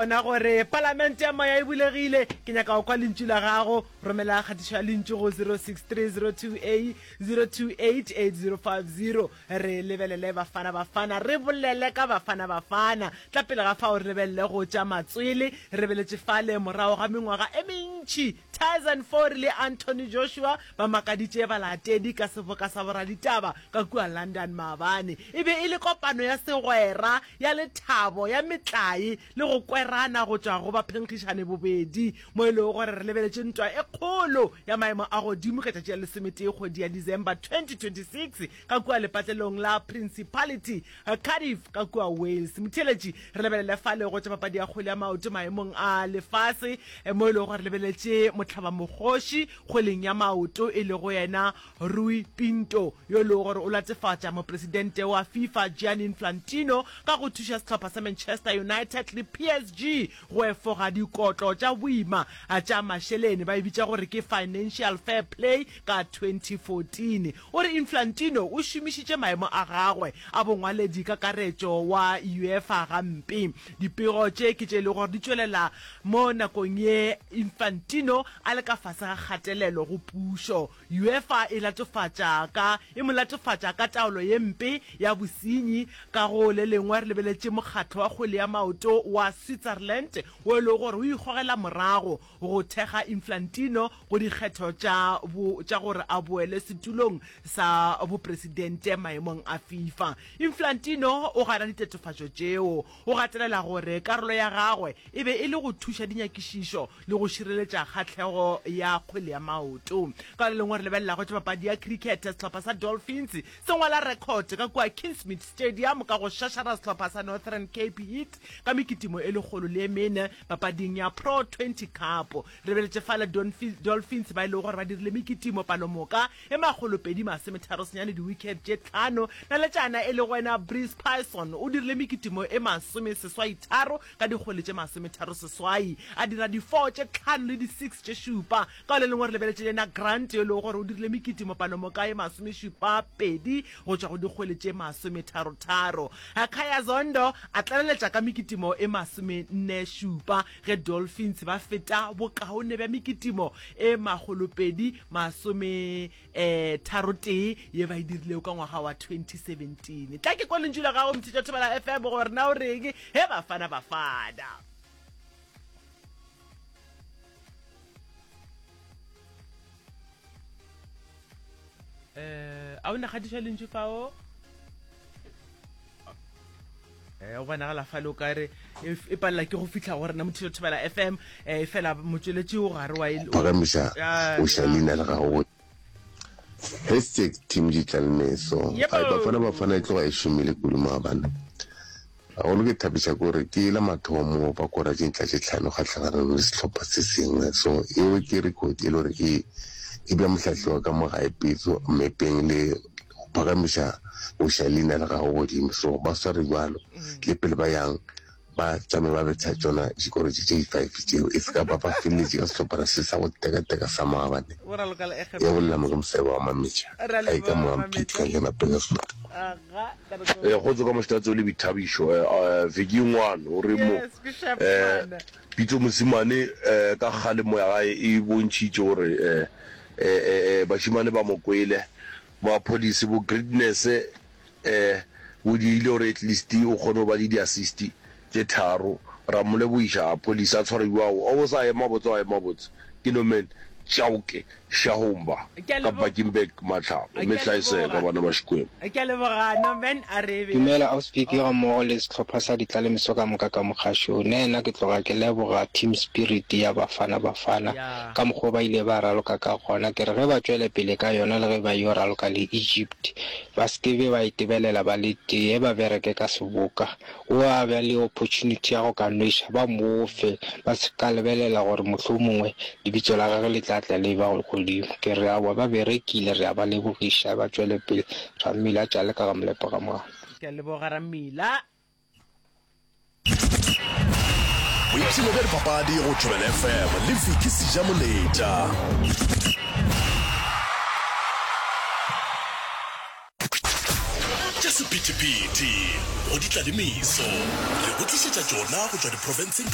Bona gore Palamente ya Moya e bulegile. Ke nyaka go kwa lentšu la gago. Romela kgatišo ya lentšu go 063028 0288050. Re lebelele Bafana Bafana. Re bolele ka Bafana Bafana. Tla pele ga fao re lebelele go tša matswele. Re lebeletše fale morago ga mengwaga e mentši Tyson Fury le Anthony Joshua ba makaditše balatedi ka seboka sa boraditaba ka kua London maabane. E be e le kopano ya segwera, ya lethabo, ya metlae le go kwerana go tšwa go baphenkgišane bobedi, mo e lego gore re lebeletše ntwa e kgolo ya maemo a godimo ka tšatši la lesometee kgwedi ya December 2026 ka kua lepatlelong la Principality Cardiff ka kua Wales. Motheeletši, re lebelele fale go tša papadi ya kgwele ya maoto maemong a lefase mo e lego gore re lebeletše mohlabamokgoši kgweleng ya maoto e lego yena Rui Pinto yo e lego gore o latefatša mopresidente wa FIFA Gianni Infantino ka go thuša sehlopha sa Manchester United le PSG go efoga dikotlo tša boima tša mašeleni ba e bitša gore ke Financial Fair Play ka 2014. O re Infantino o šomišitše maemo a gagwe a bongwaledi kakaretšo wa UEFA gampe. Dipego tše ke tše e lego gore di tšwelela mo nakong ye Infantino a le ka fase ga kgatelelo go pušo. UEFA e latofatša ka e mo latofatša ka taolo ye mpe ya bosenyi. Ka go le lengwe re lebeletše mokgatlo wa kgwele ya maoto wa Switzerland wo e lego gore o ikgogela morago go thekga Infantino go dikgetho tša bo tša gore a boele setulong sa bopresidente maemong a FIFA. Infantino o gana ditatofatšo tšeo. O gatelela gore karolo ya gagwe e be e le go thuša dinyakišišo le go šireletša kgahlego ya kgwele ya maoto. Ka le lengwe re lebelela go tša papadi ya cricket, sehlopha sa Dolphins se ngwala record ka kua Kingsmead Stadium ka go šašara sehlopha sa Northern Cape Heat ka mekitimo e lekgolo le e mene papading ya Pro 20 Cup. Re lebeletše fale Dolphins ba e lego gore ba dirile mekitimo palomoka e makgolopedi masometharo senyane di-wicket tše tlhano. Naletšana e lego wena Breeze Pyson o dirile mekitimo e masomeseswaitharo ka dikgwele tše masometharo seswai, a dira di-four tše tlhano le di-six tše šupa. Ka le lengwe re lebeletše le yena Grant yo e lego gore o dirile mekitimo palomoka e masomešupa pedi go tšwa go dikgwele tše masometharotharo. Khaya Zondo a tlaleletša ka mekitimo e masomenne šupa ge Dolphins ba feta bokaone bja mekitimo e makgolopedi masome tharotee ye ba e dirilego ka ngwaga wa 2017. Tla ke kwa lentšu la gago Mthetša Thobela FM gore na o reng he Bafana Bafana. Eh, a o nagadiša lentšu fao? Eh, o bonagala fale o ka re e, e palela ke go fihla go rena mothuša thobela fm eh, e fela motšweletši o gare wa e- Phagamiša Ya, o ša ya. leina la gago Hashtag team Ditlalmeso. Yebo. Ai Bafana Bafana e tloga e šomile kudu maabane. Gagolo ke thabiša ke gore ke la mathomo ba kora dintla tše tlhano kgahlanong le sehlopha se sengwe. So eo ke record e le gore e e bea mohlahli wa ka mo gae Pitso mmepeng le go phagamiša go iša leina la gagwe godimo. So ba sware bjalo le pele ba yang ba tšame ba betha tšona dikoro tše tše di-five tšeo e se ka ba ba feleletše ka sehlophana se sa go tekateka sa maabane. Ya bolela mo ke mosebe wa Mametša a e ka mo Mphithi ka kena Petersburg. Eh, kgotso ka moštatso le boithabišo. Eh, eh, veke e ngwana o re mo eh, Pitso Mosimane eh, ka kgalemo ya gae e bontšhitše gore eh, eh, eh, eh, bašemane ba mo kwele ba police bo greatness eh, bo dirile gore at least o kgone go ba le di-assist tše tharo ra mo lebogiša police a tshware bjao o bo sa ema botse wa ema botse ke Norman Chauke Shahumba Ke a ka lebo- Bakenberg Matlhabo Ke a mehla e seka leboga. bana ba Xikwembu. Ke a leboga Norman a re be. Dumela Auspiki ga mmogo le sehlopha sa ditlalemeso ka moka ka mogašong. Nna ke tloga ke leboga team spirit ya Bafana Bafana Ya. ka mokgwa o ba ile ba raloka ka gona. Ke re ge ba tšwele pele ka yona le ge ba yo raloka le Egypt ba se ke be ba itebelela ba le tee, ba bereke ka seboka. O a ba le opportunity ya go ka nweša, ba mo fe. Ba se ka lebelela gore mohlomongwe lebitso la gagwe le tla tla le ba godimo. Ke re aowa, ba berekile, re a ba lebogiša, ba tšwele pele. Rammila tšale ka ga Molepo ga Moano. Ke a leboga Rammila. Boipshino bja dipapadi go Thobela FM le Vicky Sejamoletša. Tša sephethephethe go di tla le meso re go tlišetša tšona go tšwa diprofenseng.